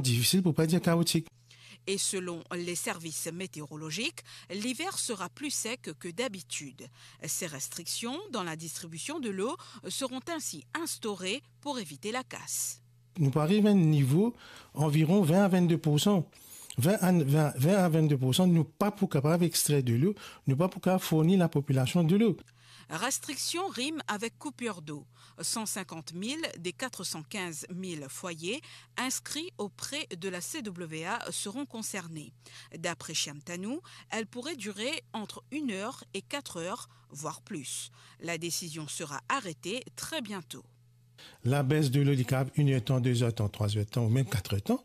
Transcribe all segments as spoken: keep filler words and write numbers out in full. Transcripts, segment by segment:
Difisil pou pa dir kaotik. Et selon les services météorologiques, l'hiver sera plus sec que d'habitude. Ces restrictions dans la distribution de l'eau seront ainsi instaurées pour éviter la casse. Nou pou ariv a enn nivo anviron vin a vinn-de poursan. Vin a, vin, vin a vinn-de poursan, nou pa pou kapav extrer delo, nou pa pou kapav fourni lapopilasion delo. Restriction rime avec coupure d'eau. Cent cinquante mille des quatre cent quinze mille foyers inscrits auprès de la C W A seront concernés. D'après Shyam Tanu, elle pourrait durer entre une heure et quatre heures, voire plus. La décision sera arrêtée très bientôt. Labes delo, li kapav enn er tan, de zer tan, trwa zer tan ou mem kat zer tan,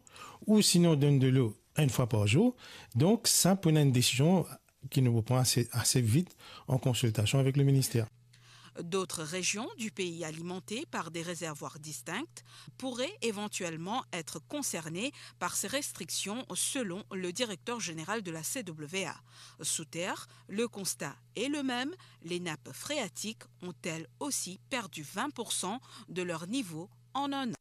ou sinon donn delo enn fwa par zour. Donk, sa pou ena enn desizion ki nou pou pran ase, ase vit an konsiltasion avek le minister. D'autres régions du pays alimentées par des réservoirs distincts pourraient éventuellement être concernées par ces restrictions, selon le directeur général de la C W A. Sous terre, le constat est le même, les nappes phréatiques ont elles aussi perdu vingt pour cent de leur niveau en un an.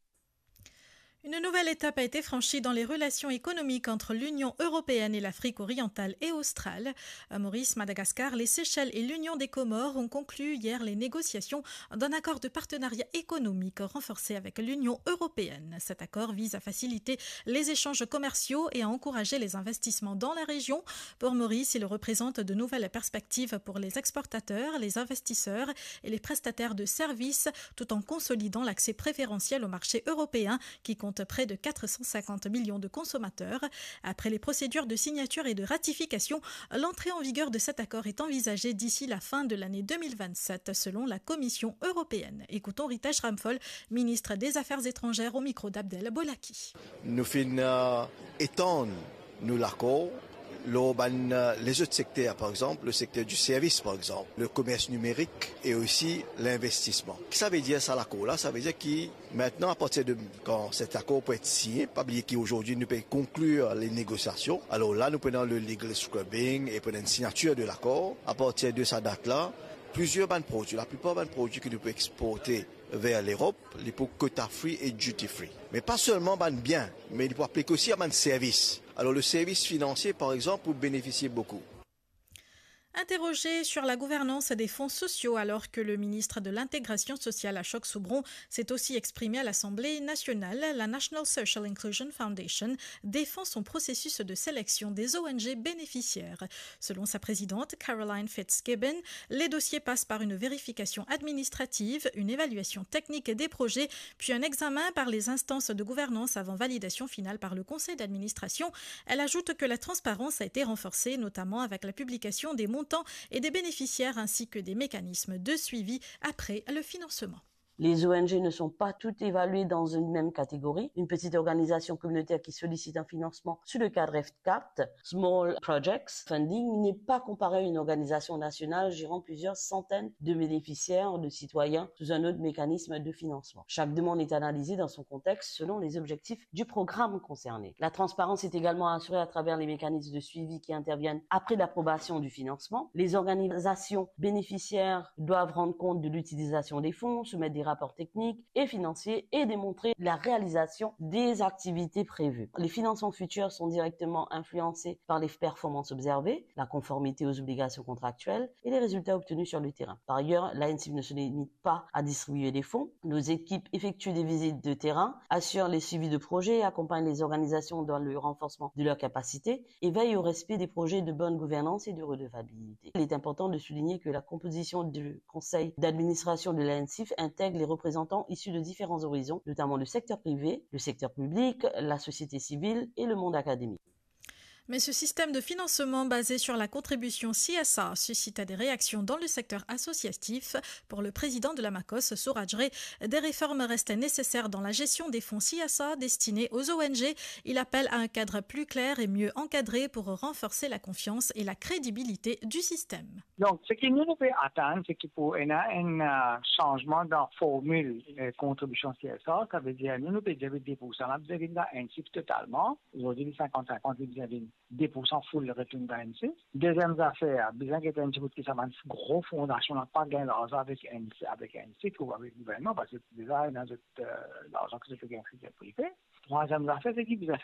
Une nouvelle étape a été franchie dans les relations économiques entre l'Union européenne et l'Afrique orientale et australe. À Maurice, Madagascar, les Seychelles et l'Union des Comores ont conclu hier les négociations d'un accord de partenariat économique renforcé avec l'Union européenne. Cet accord vise à faciliter les échanges commerciaux et à encourager les investissements dans la région. Pour Maurice, il représente de nouvelles perspectives pour les exportateurs, les investisseurs et les prestataires de services, tout en consolidant l'accès préférentiel au marché européen, qui compte près de quatre cent cinquante millions de consommateurs. Après les procédures de signature et de ratification, l'entrée en vigueur de cet accord est envisagée d'ici la fin de l'année deux mille vingt-sept, selon la Commission européenne. Écoutons Ritesh Ramphal, ministre des Affaires étrangères, au micro d'Abdel Bolaki. Nou finn, euh, etann nou lakor lor bann, euh, lezot sekter, par exanp, le sekter di servis, par exanp, le komers nimerik e osi linvestisman. Ki sa ve dir sa lakor la? Sa ve dir ki mintnan, apartir de kan set akor pou et sinye, pa bliye ki azordi nou pe konklir le negosiasion. Alor la, nou pou ena le legal scrubbing e pou ena enn signatir de lakor. Apartir de sa dat la, plizier bann prodwi, laplipar bann prodwi ki nou pou exporte ver Lerop, li pou quota free e duty free. Me pa selman bann bien, me li pou aplik osi a bann servis. Alor, le servis finansie, par exanp, pou benefisie boukou. Interrogé sur la gouvernance des fonds sociaux alors que le ministre de l'Intégration sociale, Ashok Soubron, s'est aussi exprimé à l'Assemblée nationale, la National Social Inclusion Foundation défend son processus de sélection des O N G bénéficiaires. Selon sa présidente, Caroline Fitzgibbon, les dossiers passent par une vérification administrative, une évaluation technique des projets, puis un examen par les instances de gouvernance avant validation finale par le conseil d'administration. Elle ajoute que la transparence a été renforcée, notamment avec la publication des montants et des bénéficiaires, ainsi que des mécanismes de suivi après le financement. Les O N G ne sont pas toutes évaluées dans une même catégorie. Une petite organisation communautaire qui sollicite un financement sous le cadre F quatre, Small Projects Funding, n'est pas comparée à une organisation nationale gérant plusieurs centaines de bénéficiaires, de citoyens, sous un autre mécanisme de financement. Chaque demande est analysée dans son contexte selon les objectifs du programme concerné. La transparence est également assurée à travers les mécanismes de suivi qui interviennent après l'approbation du financement. Les organisations bénéficiaires doivent rendre compte de l'utilisation des fonds, soumettre des rapports techniques et financiers et démontrer la réalisation des activités prévues. Les financements futurs sont directement influencés par les performances observées, la conformité aux obligations contractuelles et les résultats obtenus sur le terrain. Par ailleurs, l'A N C I F ne se limite pas à distribuer des fonds. Nos équipes effectuent des visites de terrain, assurent les suivis de projets, accompagnent les organisations dans le renforcement de leurs capacités et veillent au respect des projets de bonne gouvernance et de redevabilité. Il est important de souligner que la composition du conseil d'administration de l'A N C I F intègre les représentants issus de différents horizons, notamment le secteur privé, le secteur public, la société civile et le monde académique. Mais ce système de financement basé sur la contribution C S R suscite des réactions dans le secteur associatif. Pour le président de la MACOS, Suraj Ray, des réformes restent nécessaires dans la gestion des fonds C S R destinés aux O N G. Il appelle à un cadre plus clair et mieux encadré pour renforcer la confiance et la crédibilité du système. Donk, seki nou, nou pe atann, se ki pou ena enn, euh, sanzman dan formil, euh, kontribision C S R, savedir nou, nou pe dir de poursan la bizin vinn dan N C I F totalman. Azordi, li sinkant sinkant, li bizin vinn de poursan full retourn dan N C I F. Deziem zafer, bizin get enn ti bout ki sa bann gro fondasion la pa gagn larzan avek N C I F, avek N C I F ou avek gouvernman, parski deza ena zot, euh, larzan ki zot pe gagn sekter prive. Trwaziem zafer, se ki bizin